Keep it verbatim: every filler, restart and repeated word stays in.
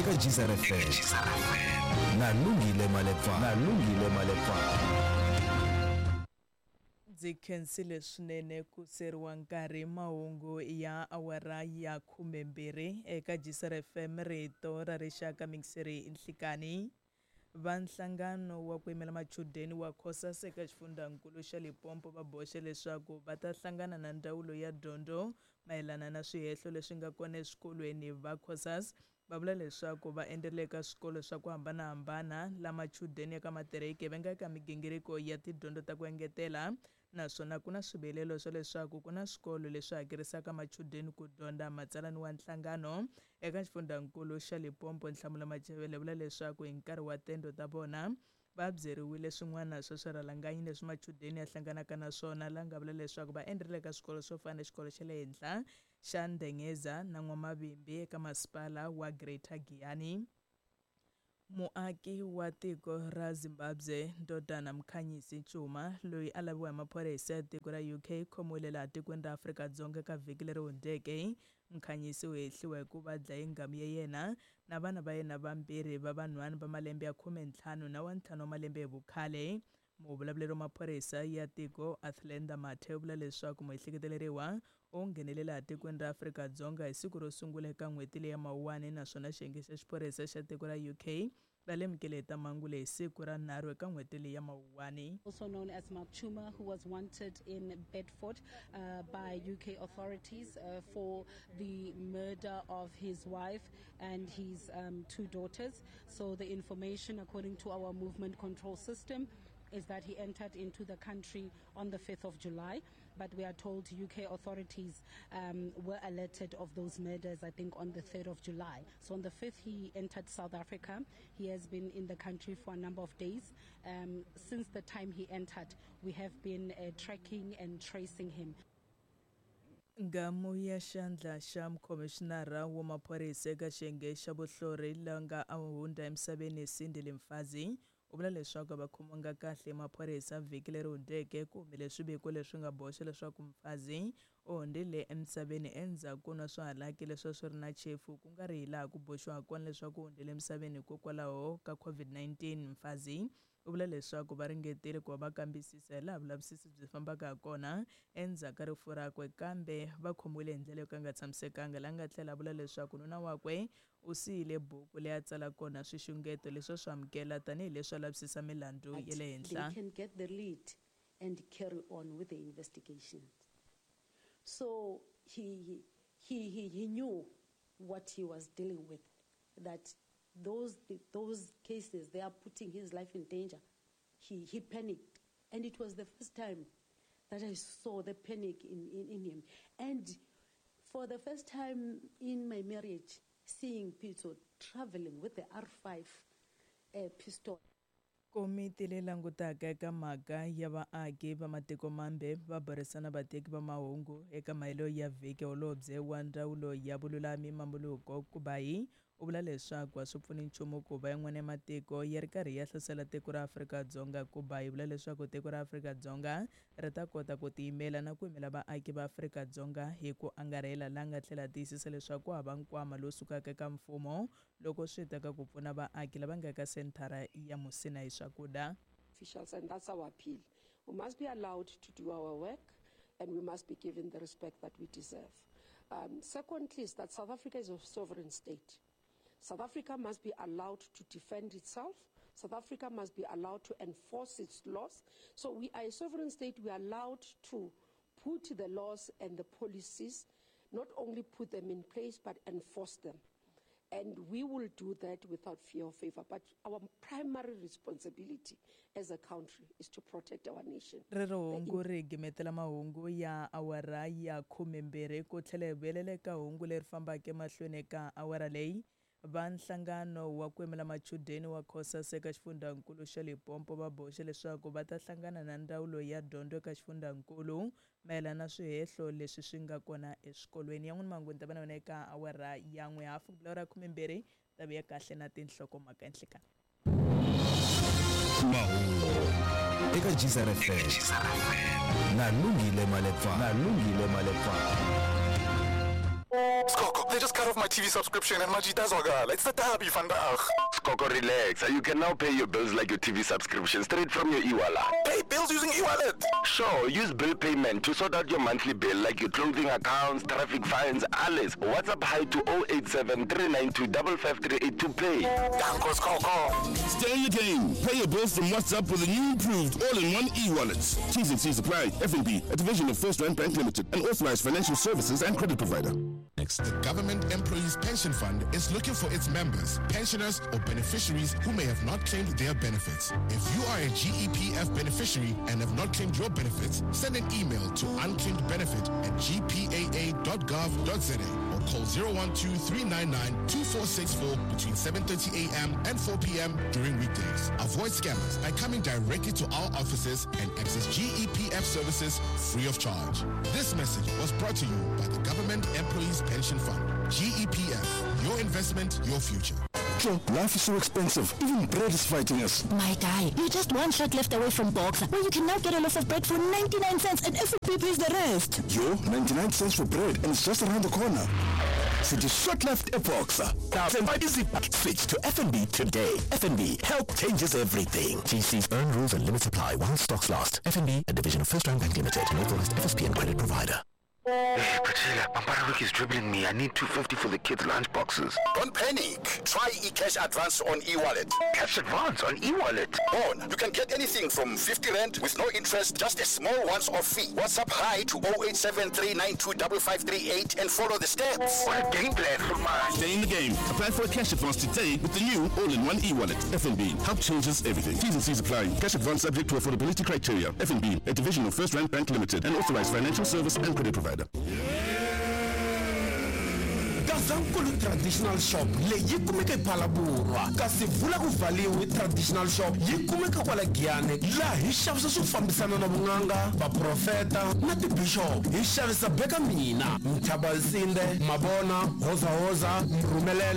eka Geyser F M na Lungile Malepa na Lungile Malepa. Ndzi khensile swinene ku seriwa nkarhi mahungu ya awara ya khumembirhi eka Geyser F M rito ra rixaka mixeri nhlikani. Va nhlangano wa ku yimela machudeni wa COSAS eka xifundzankulu xa Limpopo va boxe leswaku va ta hlangana na ndzawulo ya dyondzo mayelana na swihehlo leswi nga kona eswikolweni. Va COSAS va vula leswaku va endlele eka swikolo swa ku hambanahambana la machudeni ya ka matiriki va nga eka migingiriko ya tidyondzo ta ku engetela, naswona ku na swivilelo swa leswaku ku na swikolo leswi hakerisaka machudeni ku dyondza. Matsalani wa nhlangano eka xifundzankulu xa Limpopo Nhlamulo Machevele vula leswaku hi nkarhi wa tendo ta vona va byeriwile swin'wana swa swirhalanganyi leswi machudeni ya hlanganaka na swona, la nga vula leswaku va endlele eka swikolo swo fana na xikolo xa le henhla xa Ndengeza na N'wamavimbi eka masipala wa Greater Giyani. Muaki wa tiko ra Zimbabwe Ndodana Mkhanyisi Chuma loyi a laviwa hi maphorisa ya tiko ra U K khomiwile laha tikweni ra Afrika-Dzonga ka vhiki leri hundzeke. Mkhanyisi u hehliwa hi ku va dlaye nghamu ya yena na vana va yena vambirhi va vanhwana va malembe ya khume ntlhanu na wa ntlhanu wa malembe hi vukhale. Muvulavuleri wa maphorisa ya tiko Athlenda Mathe u vula leswaku muehleketeleriwa u nghenele laha tikweni ra Afrika-Dzonga hi siku ro sungula eka n'hweti leyi ya Mawuwani, naswona xiyenge xa xiphorisa xa tiko ra U K va lemukile hi ta mhangu leyi siku ra nharhu eka n'hweti leyi ya Mawuwani. Also known as Mark Chuma, who was wanted in Bedford, uh, by U K authorities, uh, for the murder of his wife and his, um, two daughters. So the information, according to our movement control system, is that he entered into the country on the fifth of July, but we are told U K authorities, um, were alerted of those murders, I think, on the third of July. So on the fifth, he entered South Africa. He has been in the country for a number of days. Um, since the time he entered, we have been, uh, tracking and tracing him. Nghamu ya xandla xa mukhomishinara wa maphorisa eka xiyenge xa vuhlori la nga a hundza emisaveni Sindile Mfazi u vula leswaku va khomiwanga kahle maphorisa vhiki leri hundzeke. Ku humile swiviko leswi nga boxa leswaku Mfazi u hundzile emisaveni endzhaku ko nwa swihalaki leswi a swi ri na chefu, ku nga ri hi laha ku boxiwaka kona leswaku u hundzile emisaveni hikokwalaho ka COVID nineteen. Mfazi u vula leswaku va ringetile ku va va kambisisa hi laha vulavisisi byi fambaka ha kona endzhaku ka rifu rakwe, kambe va khomiwile hi ndlela yo ka nga tshamisekanga. La nga tlhela a vula leswaku nuna wakwe u siyile buku leyi a tsala kona swixungeto leswi a swi amukela tanihileswi a lavisisa milandzu ya le henhla. They can get the lead and carry on with the investigation. So he, he, he, he knew what he was dealing with, that those, those cases, they are putting his life in danger. He, he panicked. And it was the first time that I saw the panic in, in, in him. And for the first time in my marriage, seeing Pitso traveling with the R five, uh, pistol. Komiti leyi langutaka eka mhaka ya vaaki va matiko mambe va burisana vateki va mahungu eka mahelo ya vhiki. Holobye wa ndzawulo ya vululami Mmamoloko Kubayi u vula leswaku a swi pfuni nchumu ku va yin'wana ya matiko ya ri karhi ya hlasela tiko ra Afrika-Dzonga. Kubayi vula leswaku tiko ra Afrika-Dzonga ri ta kota ku tiyimela na ku yimela vaaki va Afrika-Dzonga hi ku angarhela, la nga tlhela tiyisisa leswaku ku hava nkwama lowu sukaka eka mfumo loko swi ta ka ku pfuna vaaki lava nga eka senthara ya Musina hi swakudya. Officials, and that's our appeal. We must be allowed to do our work, and we must be given the respect that we deserve. Um, secondly, is that South Africa is a sovereign state. South Africa must be allowed to defend itself. South Africa must be allowed to enforce its laws. So we are a sovereign state. We are allowed to put the laws and the policies, not only put them in place, but enforce them. And we will do that without fear or favor. But our primary responsibility as a country is to protect our nation. Rero hungu ri gimetela mahungu ya awara ya khumembirhi ku tlhela hi vuyelela eka hungu leri fambaka emahlweni eka awara leyi. Va nhlangano wa ku yimela machudeni wa COSAS eka xifundzankulu xa Limpopo va boxe leswaku va ta hlangana na ndzawulo ya dyondzo eka xifundzankulu mayelana na swihehlo leswi swi nga kona eswikolweni. Ya n'wina mahungu ni ta va na wena eka awara ya n'we hafu ku bula ra khumembirhi ta vuya kahle na tinhlokomhaka enhlekani. Mahungu eka Geyser F M na Lungile Malepa na Lungile Malepa. Skoko, they just cut off my T V subscription and Majita. It's the derby vandaag. Skoko, relax. You can now pay your bills like your T V subscription straight from your e-wallet. Pay bills using e-wallet? Sure, use bill payment to sort out your monthly bill like your clothing accounts, traffic fines, alles. WhatsApp hi to oh eight seven, three nine two, five five three eight to pay. Danko, Skoko. Stay in the game. Pay your bills from WhatsApp with a new improved all-in-one e-wallet. T's and C's apply. F N B, a division of First Rand Bank Limited, an authorized financial services and credit provider. Next. The Government Employees Pension Fund is looking for its members, pensioners or beneficiaries who may have not claimed their benefits. If you are a G E P F beneficiary and have not claimed your benefits, send an email to unclaimed benefit at g p a a dot gov dot z a or call zero one two, three nine nine, two four six four between seven thirty a m and four p m during weekdays. Avoid scammers by coming directly to our offices and access G E P F services free of charge. This message was brought to you by the Government Employees Pension Fund. G E P F, your investment, your future. Joe, life is so expensive. Even bread is fighting us. My guy, you're just one shot left away from Boxer, where you can now get a loaf of bread for ninety-nine cents and F N B pays the rest. Yo, ninety-nine cents for bread and it's just around the corner. So just short left at Boxer. Switch to F N B today. F N B, help changes everything. G C's earn rules and limits apply while stocks last. F N B, a division of First Rand Bank Limited, an authorized F S P and credit provider. Hey, Priscilla, Pampara is dribbling me. I need two fifty for the kids' lunch boxes. Don't panic. Try eCash Advance on e-wallet. Cash Advance on e-wallet? On. You can get anything from fifty rand with no interest, just a small once-off fee. WhatsApp hi to oh eight seven, three nine two, five five three eight and follow the steps. What a game plan for mine. Stay in the game. Apply for a cash advance today with the new all-in-one e-wallet. F N B. Help changes everything. T's and C's apply. Cash advance subject to affordability criteria. F N B, a division of First Rand Bank Limited, an authorized financial service and credit provider. Gazankulu Traditional Shop leyi kumeka ePhalaborwa kasi vula ku valiwe Traditional Shop yi kumeka kwala Giyani laha hi xavisa swo fambisana na vun'anga vaprofeta na tibishop hi xavisa beka mina Mthabasinde Mabona Hoza Hoza Mrhumelela.